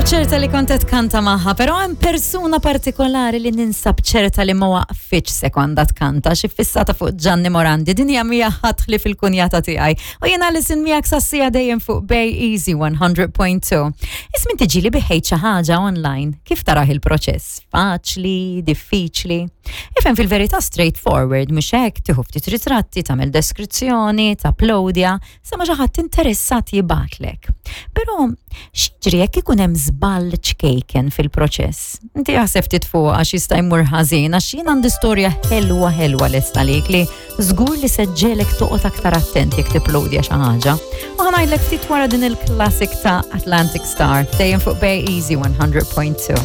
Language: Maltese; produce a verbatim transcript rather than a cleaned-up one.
Ninsab ċerta li kont qed tkanta magħha, però hemm persuna partikolari li ninsab ċerta li ma waqfitx sekonda tkanta xi fissata fuq Gianni Morandi, din hija mija ħadd li fil-kunjata tiegħi. U jiena li sin miegħek sassija dejjem fuq Bay Easy one hundred point two. Ismin tiġi li biħejt xi ħaġa online, kif taraħ il-proċess? Faċli, diffiċli? Ifhem, fil-verità straightforward, mhux hekk? Tieħu ftit ritratti, tagħmel deskrizzjoni, tapplowdja, sa ma xi ħadd interessat jibgħatlek. Però x'jiġri jekk ikun hemm żball ċkejken fil-proċess? Inti jaħseb ftit fuq għax jista' jmur ħażin, għax jien għandi storja ħelwa ħelwa lesta lik li żgur li se ġġegħlek toqgħod aktar attent jekk tipplowdja xi ħaġa. U ħa ngħidlek ftit wara din il-classic ta' Atlantic Star, dejjem fuq Bay Easy one hundred point two.